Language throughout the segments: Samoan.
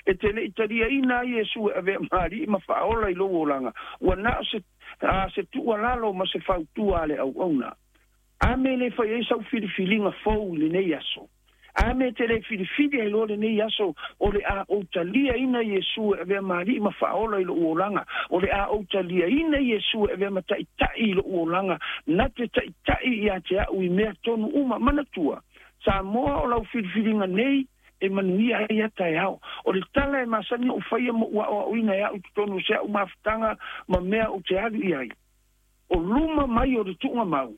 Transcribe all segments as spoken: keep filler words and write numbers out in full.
E te le'i taliaina ai Iesu e avea ma ali'i ma fa'aola i lou olaga ua na o se a se tu'ualalo ma se fautua a le auauna. A me le fai ai sau filifiliga fou i lenei aso? A me te le filifili ai loa lenei aso o le a ou taliaina Iesu e avea ma ali'i ma fa'aola i lo'u olaga, o le a ou taliaina Iesu e avea ma ta'ita'i i lo'u olaga na te ta'ita'i ia te a'u i mea tonu uma? Manatua, Samoa, o lau filifiliga nei e manuia ai ata e ao. O le tala e masani ou faia mo ua a'oa'oina e a'u totonu se a'u mafutaga ma mea ou te alu i ai. O luma mai o le tu'uga mau,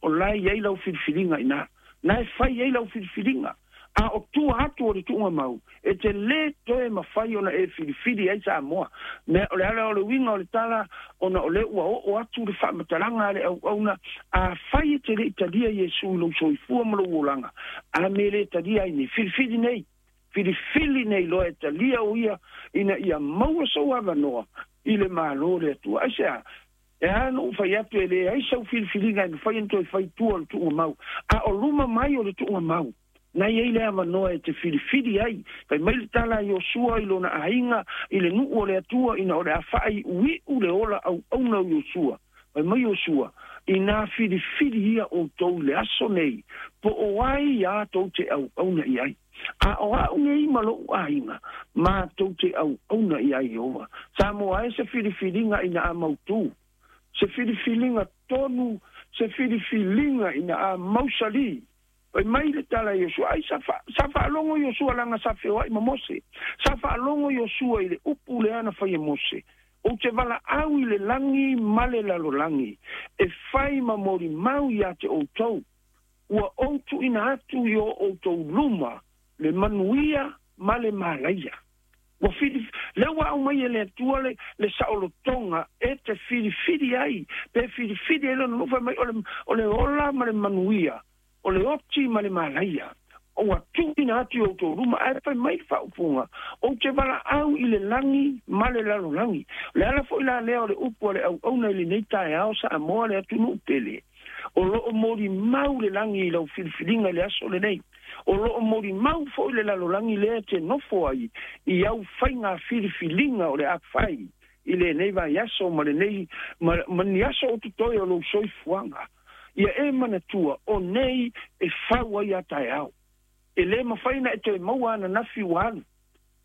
o lae i ai lau filifiliga ina. Na e fai ai lau filifiliga. A o tua atu o le tu'uga mau, e te lē toe mafai ona e filifili ai, Samoa. Mea o le ala o le uiga o le tala, ona o lea ua oo atu le fa'amatalaga a le auauna, a fai e te le'i talia Iesu i lou soifua ma lou olaga, a me lē talia ai nei, filifili nei. Filifili nei loa e talia o ia ina ia maua sou avanoa i le mālō le Atua. Ai se a? E a no fai atu e le ai sau filifiliga e mafai ona toe fai tua o le tu'uga mau. A o luma mai o le tu'uga mau, na iai le avanoa e te filifili ai. Fai mai le tala a Iosua i lona aiga i le nu'u o le Atua ina o le a fa'ai'ui'u le ola au'auna o Iosua. Fai mai Iosua, inā filifili ia outou i le aso nei, po o ai iā tou te au'auna i ai. A o a'u nei ma lo'u aiga, matou te au'auna i ai Ieova. Samoa e, se filifiliga ina a mautū. Se filifiliga tonu, se filifiliga ina a mausalī. Fai mai le tala Iosua, ai sa, fa, sa fa'alogo Iosua laga sa feoa'i ma Mose. Sa fa'alogo Iosua i le upu lea na fai e Mose. Ou te vala'au i le lagi ma le lalolagi, e fai ma molimau iā te outou. Ua ou tu'uina atu i o outou luma le manuia ma le malaia. Ua fili, le ua au mai e le Atua le, le sa'olotoga e te filifili ai, pe filifili ai lona nufa mai o le, o le ola ma le manuia, o le oti ma le malaia. Ua tu'uina atu i outou luma, ae fai mai le fa'aupuga, ou te vala'au i le lagi ma le lalolagi. Le ala fo'i la lea o le upu a le au'auna i lenei taeao, Samoa le atunu'u pele. O lo'o molimau le lagi i lau filifiliga i le aso lenei. O lo'o molimau fo'i le lalolagi lea te nofo ai i au faiga filifiliga o le a fai i lenei vaiaso ma lenei ma, ma ni aso o totoe o lou soifuaga. Ia e manatua o nei e fau ai a taeao. E lē mafai na e toe maua ananafi ua alu.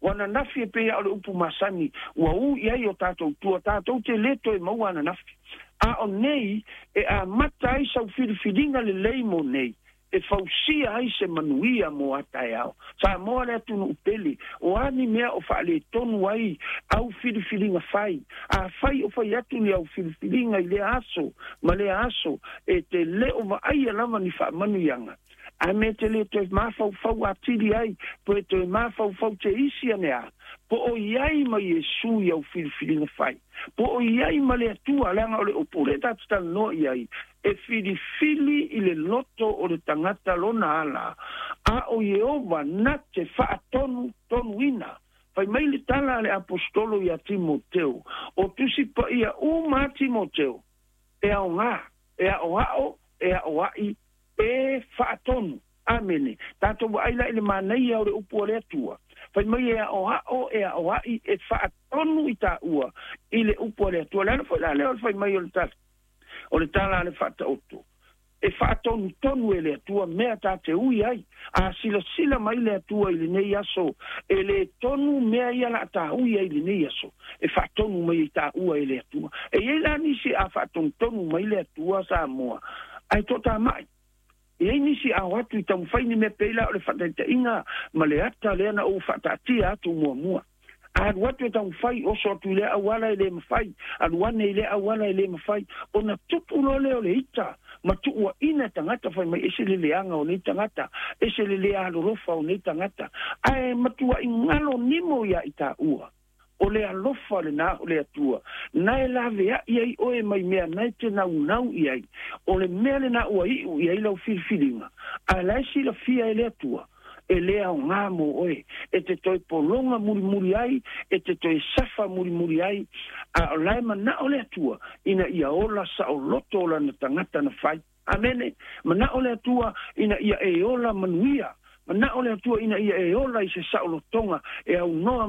Ua ananafi e pei o le upu masani, ua ū i ai o tatou tua, tatou te lē toe maua ananafi. A o nei e amata ai sau filifiliga lelei mo nei, e fausia ai se manuia mo a taeao. Samoa le atunu'u pele, o a ni mea o fa'aletonu ai au filifiliga fai? A fai o fai atu ni au filifiliga i lea aso ma lea aso, e te lē o va'aia lava ni fa'amanuiaga. A me te lē toe mafaufau atili ai, po e toe mafaufau te isi ane a, po o i ai ma Iesu i au filifiliga fai. Po o i ai ma le Atua, leaga o le upu le tatataloa i ai, e filifili i le loto o le tagata lona ala, a o Ieova na te fa'atonu tonuina. Fai mai le tala a le apostolo ia Timoteo, o Tusi Pa'ia uma a Timoteo, e aogā, e a'oa'o, e a'oa'i, e fa'atonu. Amene. Tatou vaai la i le manaia o le upu a le Atua. Fai mai e a'oa'o, e a'oa'i, e fa'atonu i tāua i le upu a le Atua. Le ala foi la lea o le fai mai o le tala. O le tala a le fa'ata'oto. E fa'atonutonu e le Atua mea tā te ui ai. A silasila mai le Atua i lenei aso, e le tonu mea ia la tā ui ai i lenei aso. E fa'atonu mai i tāua e le Atua. E iai la nisi a fa'atonutonu mai le Atua, Samoa, ae to tā mai. E ai nisi ao atu i taumafai ni mea pei la o le fa'ataita'iga ma le ata lea na ou fa'ata'atia atu muamua. Alu atu e taumafai oso atu i lea auala e lē mafai, alu ane i lea auala e lē mafai, ona tupu loa lea o le ita ma tu'ua'ina e tagata fai mai ese le leaga o nei tagata, ese le lē alolofa o nei tagata, ae matua'i galo nimo iā i tāua. O le alofa lenā o le Atua, na e lavea'i ai oe mai mea na e te naunau i ai. O le mea lenā ua i'u i ai lau filifiliga, ae la e silafia e le Atua, e lē aogā mo oe. E te toe pologa mulimuli ai, e te toe safa mulimuli ai, a o lae mana'o le Atua, ina ia ola sa'oloto o lana tagata na fai. Amene. Mana'o le Atua ina ia e ola manuia. Mana'o le Atua ina ia e ola i se sa'olotoga e aunoa.